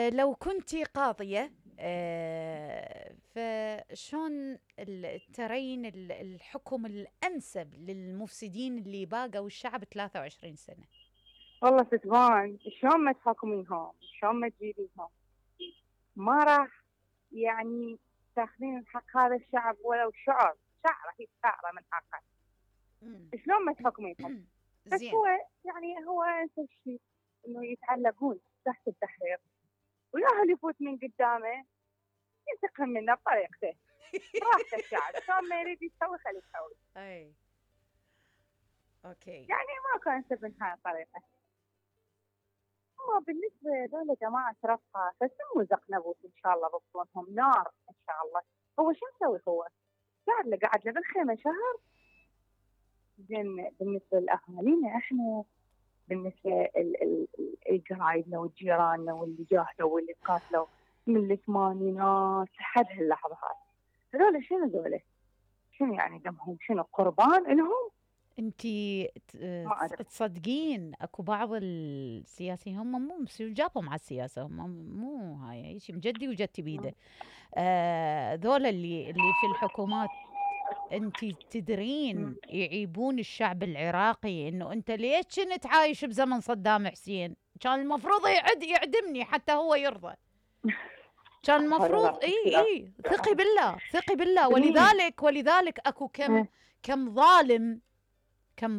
لو كنتي قاضية، فشون ترين الحكم الأنسب للمفسدين اللي باقوا الشعب 23 سنة؟ والله ستبان شلون ما تحكمينهم، شلون ما تجيبينهم، ما راح يعني تاخذين حق هذا الشعب ولو شعر هي شعره من حقه. شلون ما تحكمينهم. بس هو يعني هو انسب شيء انه يتعلقون تحت التحرير، وياهل يفوت من قدامه ينتقم منه بطريقته. راحته الشعب، شلون ما يريد يسوي خليه يسوي. اي اوكي، يعني ماكو انسب من هاي الطريقه. هو بالنسبه لهذول جماعه رفقه فسموا زقنبوت ان شاء الله بطونهم نار ان شاء الله. هو شو مسوي؟ هو قاعد له بالخيمه شهر. زين بالنسبه لاهالينا احنا، بالنسبه لقرايبنا وجيراننا واللي جاهدوا واللي قاتلوا من الثمانينات لحد هاللحظه هاي، هذول شنو ذولا؟ شنو يعني دمهم؟ شنو قربان لهم؟ انتي تصدقين اكو بعض السياسيين هم مو جابهم على السياسه، هم مو هاي شيء مجدي وجدتي بيده. ذولا اللي في الحكومات، انتي تدرين يعيبون الشعب العراقي انه انت ليش كنت عايش بزمن صدام حسين؟ كان المفروض يعدمني حتى هو يرضى. كان المفروض اي ثقي بالله. ولذلك اكو كم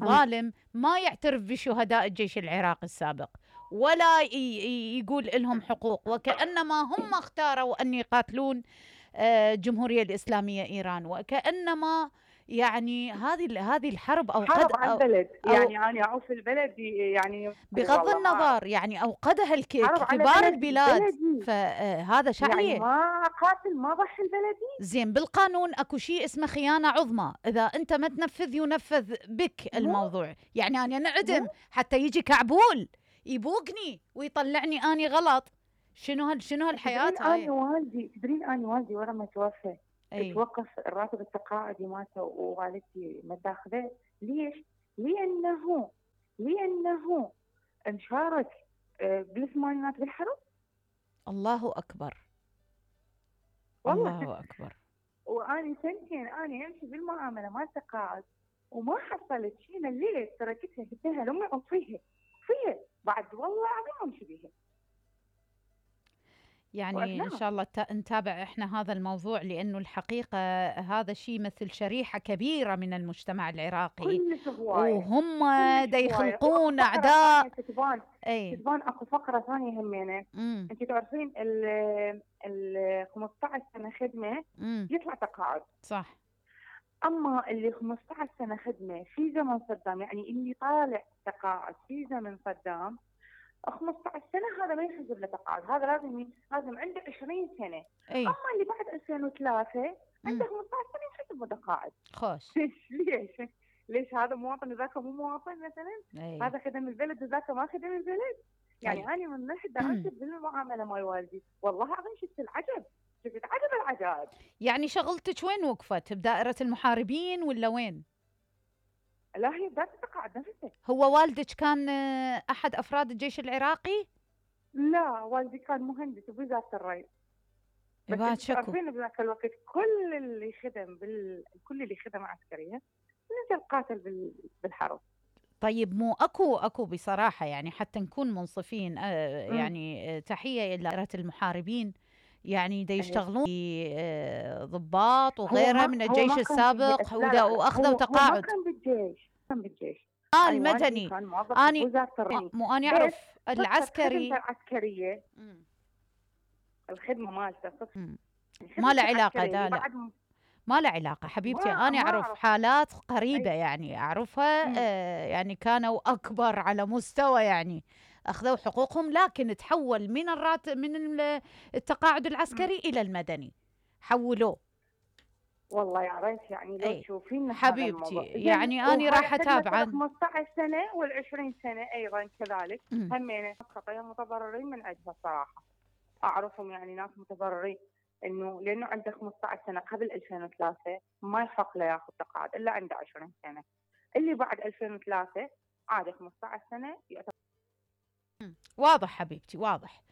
ظالم ما يعترف بشهداء الجيش العراقي السابق ولا يقول لهم حقوق، وكأنما هم اختاروا أن يقاتلون الجمهورية الإسلامية إيران، وكأنما يعني هذه الحرب حرب على البلد. يعني أنا أعوف البلد يعني بغض النظر يعني أوقدها كبار البلاد، فهذا شعليه يعني ما قاتل ما ضحي البلدي. زين بالقانون اكو شيء اسمه خيانة عظمى، إذا أنت ما تنفذ ينفذ بك الموضوع. يعني أنا نعدم حتى يجي كعبول يبوقني ويطلعني أني غلط. شنو هالحياة هاي؟ تدرين أنا والدي ورا ما توفى توقف الراتب التقاعدي مالته ووالدتي ما تاخذه. ليش؟ لأنه مشارك بالثمانينات بالحرب. الله أكبر والله الله أكبر. وأنا سنتين أنا أمشي بالمعاملة مال التقاعد وما حصلت شيء. ليش؟ تركتها قلت لها لأمي أطفيها بعد والله العظيم أمشي بيها. يعني إن شاء الله نتابع إحنا هذا الموضوع، لأنه الحقيقة هذا شيء مثل شريحة كبيرة من المجتمع العراقي، وهم دا يخلقون أعداء. تبان أكو فقرة ثانية همينة. أنت تعرفين ال 15 سنة خدمة يطلع تقاعد، صح؟ أما اللي 15 سنة خدمة في زمن صدام، يعني اللي طالع تقاعد في زمن صدام 15 سنة، هذا ما يحسب له تقاعد. هذا لازم عنده 20 سنة. أما اللي بعد 2003 عنده 15 سنة يحسب له تقاعد. خوش. ليش هذا مواطن وذاك مو مواطن مثلا؟ هذا خدم البلد وذاك ما خدم البلد. يعني أنا من ناحية أنسب بالمعاملة مال والدي، والله العظيم شفت العجب، شفت عجب العجائب. يعني شغلتك وين وقفت؟ بدائرة المحاربين ولا وين؟ لا هي بدأت تقاعد نفسه. هو والدك كان أحد أفراد الجيش العراقي؟ لا والدي كان مهندس بوزارة الري. بس تعرفين بذاك الوقت كل اللي خدم عسكرية نزل قاتل بالحرب. طيب مو اكو بصراحة، يعني حتى نكون منصفين، يعني تحية إلى دائرة المحاربين، يعني دا يشتغلون ضباط وغيرها من الجيش السابق واخذوا تقاعد. هو ما كان بالجيش المدني. كان موظف في وزارة الري. مو أنا أعرف العسكري العسكرية الخدمة مالته ما له علاقة. لا ما له علاقة حبيبتي. أنا أعرف حالات قريبة يعني أعرفها، يعني كانوا أكبر على مستوى، يعني أخذوا حقوقهم، لكن تحول من من التقاعد العسكري إلى المدني، حولوه. والله يا ريت يعني لو تشوفين حبيبتي، يعني أنا راح أتابع 15 سنة وال20 سنة أيضا كذلك همينة خطايا متضررين من عندها صراحة. أعرفهم يعني ناس متضررين، إنه لأنه عنده 15 سنة قبل 2003 ما يحق له ياخذ تقاعد إلا عنده 20 سنة. اللي بعد 2003 عاد 15 سنة يعتبر. واضح حبيبتي، واضح.